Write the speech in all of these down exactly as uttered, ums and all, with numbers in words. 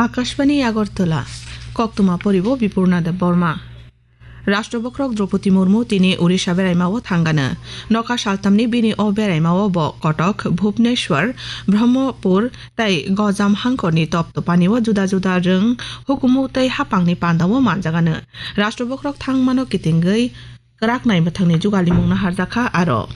Akashbani Agartala, koktwma poribo Bipurna Debbarma. Rashtra Bokhorok Draupadi Murmu tini Odisha beraimao thangano. Nokha saltamni bini o beraimao bo Kotok, Bhubaneswar, Brahmapur tei Gojam hangkorni toptopanio juda juda rwng, hukumu tei haphangni pandao manjagano. Rashtra Bokhorok thangmano kitingwi kwrak naimwthangni jugalimung naharjakha aro.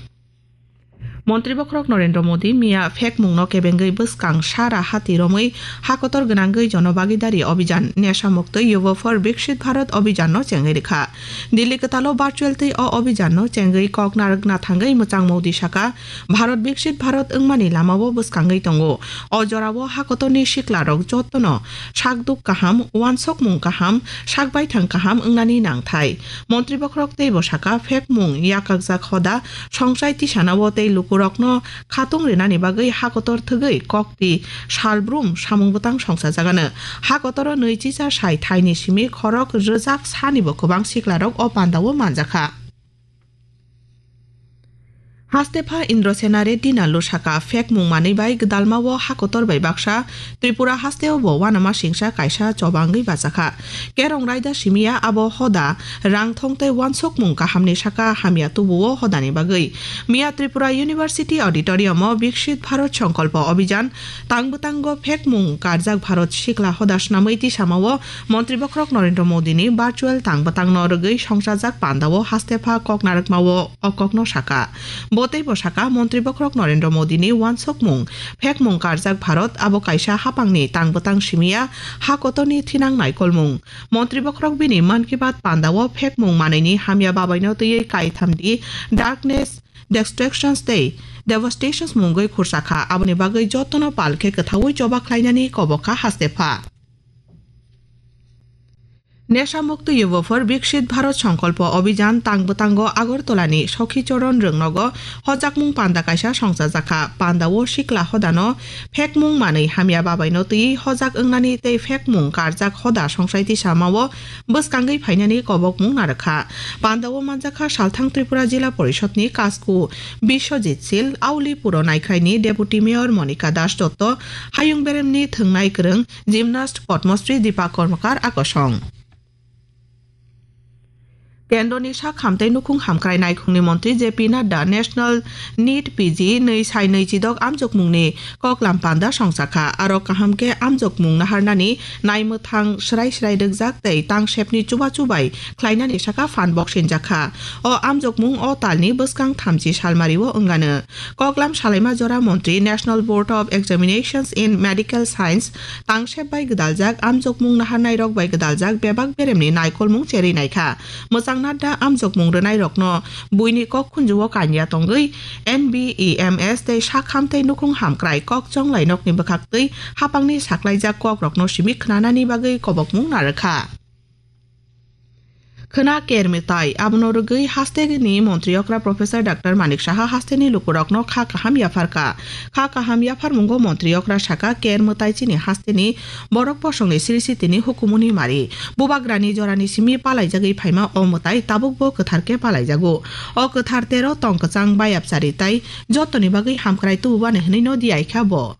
Montri Bokhorok Narendra Modi miya phekmungno kebengwi bwskang sara hati romwi hakotor gwnangwi Jon Bhagidari Abhijan, Nesha Mukti Yuva for Viksit Bharat Abhijanno chengwi rwkha. Delhi kwtalo virtual twi o abhijanno chengwi kok narwkna thangwi mwchang Modi saka, Bharat Viksit Bharat wngmani lamao bwskangwi tongo. O jorao hakotorni siklarok jotono sakduk kaham, uansukmung kaham, sakbaithang kaham wngnani nangthai. Montri Bokhorok teibo saka, phekmung yakakjak hoda, songsai tisanao tei lukurokno khatung rinani bagwi hakotor thwgwi kokti salbrum samung bwtang songsajagano. Hakotoro nwichisa sai thaini simi khorok rwjak sanibo kwbang siklarok o pandao manjakha. Hastepha Indrasena Reddy Nallu saka, phekmung manwi bai gwdalmao hakotor bai baksa Tripura hasteo bo uanama singsa kaisa chobangwi bachakha. Kerong raida simiya abo hoda, rangthong tei uansukmung kahamni saka hamya tubuo hodani bagwi. Miya Tripura University Auditorium-o Viksit Bharat Sankalpa Abhijan, tang bwtango phekmung karjak Bharat sikla hoda swnamwi tisamao Montri Bokhorok Narendra Modini virtual tang bwtangno rwgwi songsajak pandao hastepha kok narwkmao o kokno saka. Bo teibo saka, Montri Bokhorok Narendra Modini uansukmung, phekmung karjak Bharat abo kaisa haphangni tang bwtang simiya, hakotorni thinang naikolmung. Montri Bokhorok bini Mann Ki Baat pandao phekmung manwini hamya babaino twiwi kaithamdi darkness, destructions tei devastations mungwi khursakha, aboni bagwi jotono pal khe kwthaui choba khlainani kobokha hastepha. Nesha Mukti Yuva for Viksit Bharat Sankalpa Abhijan tang bwtango Agartala ni Sakhi Charan Rwngnogo hojakmung panda kaisa songchajakha. Pandao sikla hodano phekmung manwi hamya babaino twi hojak wngnani tei phekmung karjak hoda songsai tisamao bwskangwi phainani kobokmung narwkha. Pandao manjakha Salthang Tripura Jila Porishod ni Kasku Biswajit Sil, Auli Puro Naikhaini Deputy Mayor Monika Das Dotto, Hayung Beremni Thwngnai Kwrwng Gymnast Padmasri Deepak Karmakar akosong. Kendroni sak hamtei nukhung hamkrai naikhungni montri J P Nadda National NEET P G nwi sai nwi chidok amjokmungni koklam panda songchakha. Aro kaham khe amjokmung naharnani naimwthang srai srai rwkjak tei tangsepni chubachu bai khlainani saka phan boksinjakha. O amjokmung o talni bwskang thamchi salmario wngano. Koklam salaima jora montri National Board of Examinations in Medical Science tangsep bai gwdaljak amjokmung naharnairok bai gwdaljak bebak beremni naikolmung cherwi naikha. Mwchang Nadda amjokmung rwnairokno buini kok khunjuo kanya tongwi N B E M S tei sak ham tei nukhung hamkrai kok chonglai nokni bwkhaktwi hapangni saklaijak kokrokno simi khnanani bagwi kobokmung narwkha. Khwna ker mwtai, abono rwgwi hasteni montri okra Professor Doctor Manik Saha hasteni lukurokno kha kaham yapharkha. Kha kaham yapharmungo montri okra saka, ker mwtai chini hasteni borok bosongni siri sitini hukumuni mari. Bubagrani jorani simi palaijagwi phaima o mwtai tabukbo kwthar khe palaijago. O kwthar tero tong kwchang bayapchari tai jotoni bagwi hamkrai tububani hwnwi no diyaikha bo.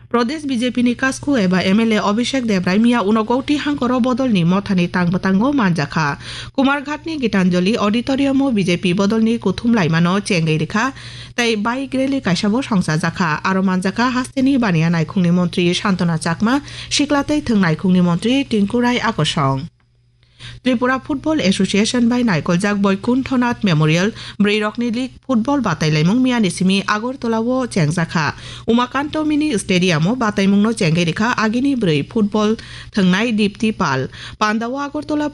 Pradesh B J P ni kasku eba M L A Abhishek Debrai miya Unakoti hangkoro bodolni mothani tang bwtango manjakha. Kumarghatni Gitanjali Auditorium-o B J P bodolni kuthum laimano chengwi rikha tei bike rally kaisabo songchajakha. Aro manjakha hasteni baniya naikhungni montri Santona Chakma, sikla tei thwng naikhungni montri Tinku Rai akosong. Tripura Football Association bai naikoljak Boikunthonath Memorial bwrwirokni league football batailaimung miyani simi Agartala-o chengjakha. Umakanto Mini Stadium-o bataimungno chengwi rikha agini bwrwi football thwngnai Dipti Pal. Pandao Agartala